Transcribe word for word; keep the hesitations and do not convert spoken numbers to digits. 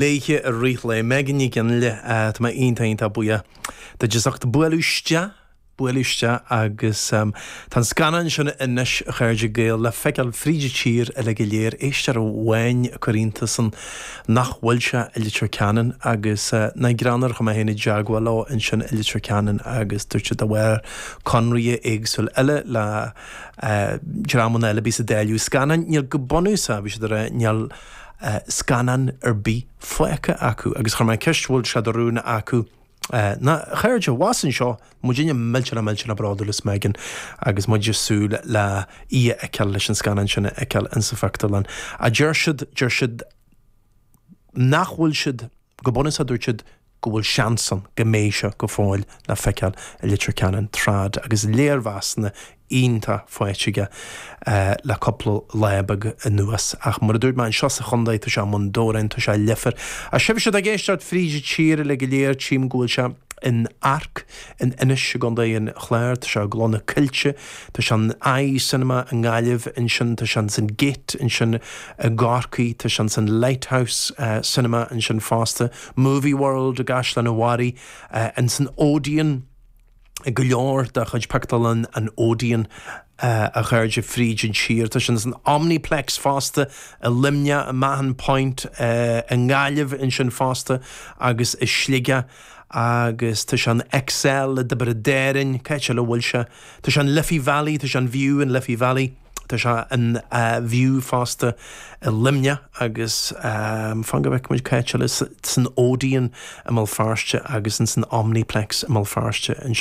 Léithe i rith lae Megan Ní Fhionnghaile tá mé iontach iontach buíoch duit as ucht bualadh isteach bualadh isteach agus um, tá an scannán sin anois a chairde Gael le feiceáil fríd an tír uile go léir éisteoir amháin a chuir iontas ann nach bhfuil sé i Leitir Ceanainn agus uh, na greanar chu mé héna jaguáil leo ansin i Leitir Ceanainn agus dúirt siad de bharr conraí éagsúil eile le uh, dreamanna eile bí sa déileadh scannán níl go bunúsach bhí siad níl uh, scannán ar bith fágtha acu agus chuir mé ceist bhfuil sé de rún acu Uh, na chairde was anseo muidinne millteanach millteanach bródúil as Megan agus muid ag súil le í a fheiceáil leis an scannán sin a fheiceáil insa phictiúrlann. A deir siad deir siad nach bhfuil siad go bunúsach dúirt siad go bhfuil seans ann go mbeidh sé go fóill le feiceáil i Leitir Ceanainn trad agus léirmheasanna iontach faighte aige uh, le cúpla lá beag anuas ach mar a dúirt mé anseo sa chontae tá sé mun dórain tá sé leifir. A sibh siad ag éisteacht fríd tír le go léir tchím go bhfuil sé in Arc in Inis i gContae an Chláir, tá sé Gleann na Coillte, tá sé an Eye Cinema i nGaillimh ansin tá sé san Gate ansin i gCorcaigh, tá sé san Lighthouse uh, Cinema ansin fosta, Movie World i gCaisleán an Bharraigh, uh, in san Odeon go leor de chuid pictiúrlann an Odeon uh, a chairde fríd an tír Tá sin san Omniplex fosta i Luimneach i Mahon Point uh, i nGaillimh ansin fosta agus i Sligeach agus tá sé an XL i dTiobraid Árann cé le bhfuil sé Tá sé an Liffey Valley tá sé an View in Liffey Valley Tá sé an uh, View fosta i Luimneach agus um, fan go bhfeicfidh muid cé san Odeon i mBéal Feirste agus in san Omniplex i mBéal Feirste